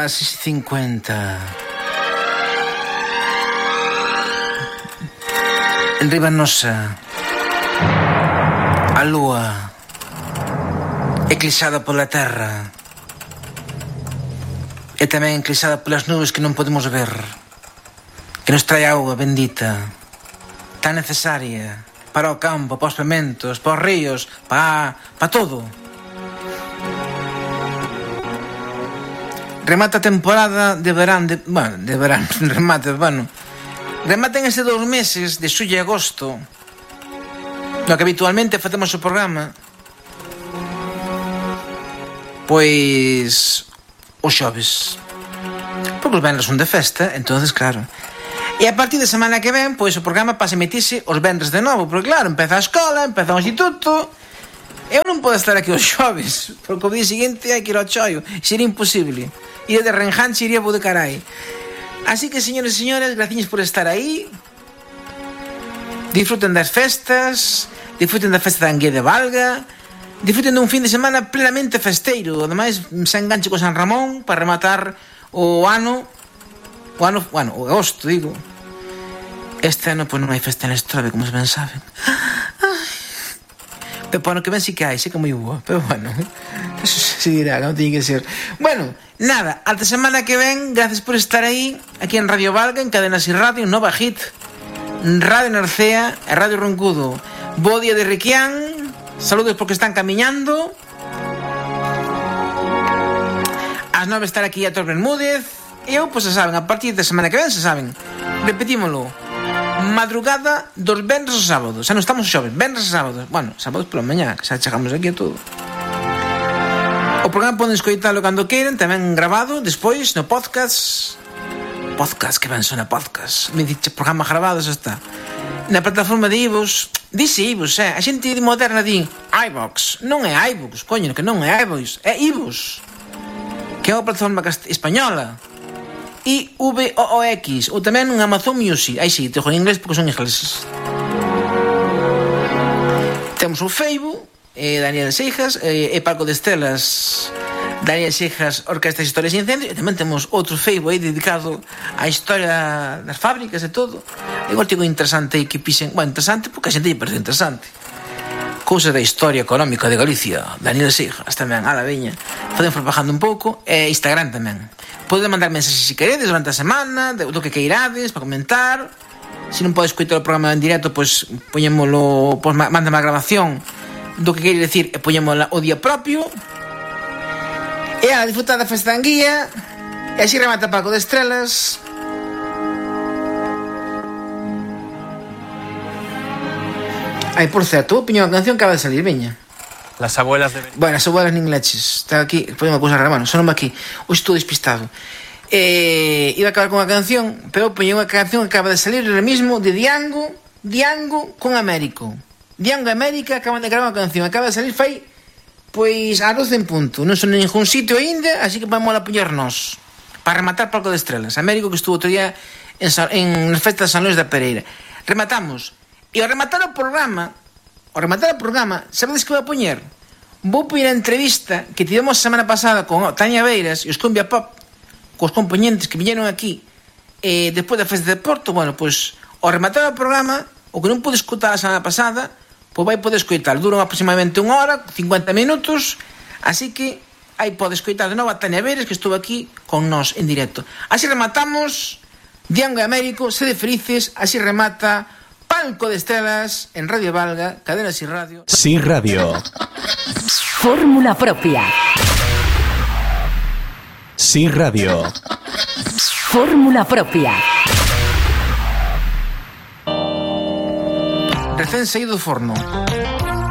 As 6:50. Enriba nosa a lúa eclipsada pola terra e tamén eclipsada polas nubes que non podemos ver, que nos trae auga bendita tan necesaria para o campo, para os pementos, para os ríos, para todo. Remata a temporada de verán, rematan ese 2 meses de xullo e agosto no que habitualmente facemos o programa, pois os xoves, porque os venres son de festa, entonces claro. E a partir de semana que ven, pois o programa pasa a emitirse os venres de novo, porque claro, empeza a escola, empeza o instituto. Eu non podo estar aquí os xoves, porque o día seguinte hai que ir ao chollo, sería imposible. Ir de renjanche iría bo de carai. Así que, señores e señoras, graciñas por estar aí. Disfruten das festas, disfruten da festa da Anguía de Valga, disfruten dun fin de semana plenamente festeiro. Ademais, se enganche con San Ramón para rematar o ano, o agosto, digo. Este ano, pois, non hai festa en Estrove, como ben saben. Pero para ano que ven sí que hai, sei que é moi boa, pero bueno, eso se dirá, non tiñe que ser. Bueno, nada, ata semana que ven, gracias por estar aí, aquí en Radio Valga, en Cadenas y Radio, Nova Hit, Radio Narcea e Radio Roncudo. Bo día de Requián, saludos porque están camiñando. As 9 estar aquí a Tor Bermúdez. E eu, pois, se saben, a partir de semana que ven, se saben, repetímolo, madrugada dos venres aos sábados. Xa non estamos xoves, venres aos sábados. Bueno, sábados pola mañá, que xa chegamos aquí a todo. O programa poden escoitalo cando queiran, tamén grabado, despois no podcast. Podcast, que ben sona podcast. Me dixe programa grabado, xa está. Na plataforma de iVoox. Dice iVoox, a xente moderna di iVoox. Non é iVoox, coño, que non é iVoox, é iVoox, que é unha plataforma española. iVoox, ou tamén un Amazon Music. Aí sí, te en inglés porque son ingleses. Temos o Facebook, Daniel Seijas, e Paco de Estelas, Daniel Seijas, Orquestas Historias e Incendios. E tamén temos outro Facebook aí dedicado á historia das fábricas e todo. É un artigo interesante aí que pixen. Bueno, interesante porque a xente lle parece interesante. Cousa da historia económica de Galicia, Daniel Seijas tamén, a la veña. Poden propagando un pouco. E Instagram tamén. Poden mandar mensaxes se queredes durante a semana, do que queirades, para comentar. Se non podes escoitar o programa en directo, pois poñémolo, pois mándame a grabación do que queres decir e poñémola o día propio. E a disfrutar da festa da Anguía. E así remata Paco de Estrelas. Ai, por certo, vou poñer unha canción que acaba de salir, veña. Las abuelas de... Bueno, as abuelas nin leches. Está aquí, podemos pousar a mano, sonome aquí. Hoxe estou despistado. Iba a acabar con unha canción, pero poñei unha canción que acaba de salir ahora mismo de Diango con Américo. Diango e América acaban de gravar unha canción, acaba de salir fai pois a 12 en punto. Non son en ningún sitio aínda, así que vamos a poñernos para rematar Paco de Estrelas. Américo, que estuvo outro día en festa de San Luis da Pereira. Rematamos. E ao rematar o programa, sabedes que vou a poñer? Vou poñer a entrevista que tivemos a semana pasada con Tania Beiras e os Cumbia Pop, cos componentes que viñeron aquí despois da festa de Porto. Bueno, pois ao rematar o programa, o que non pude escutar a semana pasada, pois vai poder escoitar. Duran aproximadamente 1 hora, 50 minutos, así que aí pode escoitar de novo a Tania Beiras, que estuvo aquí con nós en directo. Así rematamos Diango e Américo, sede felices. Así remata Palco de Estelas en Radio Valga, Cadenas y Radio. Sí Radio. Fórmula propia. Sí Radio. Fórmula propia. Recén saído do forno.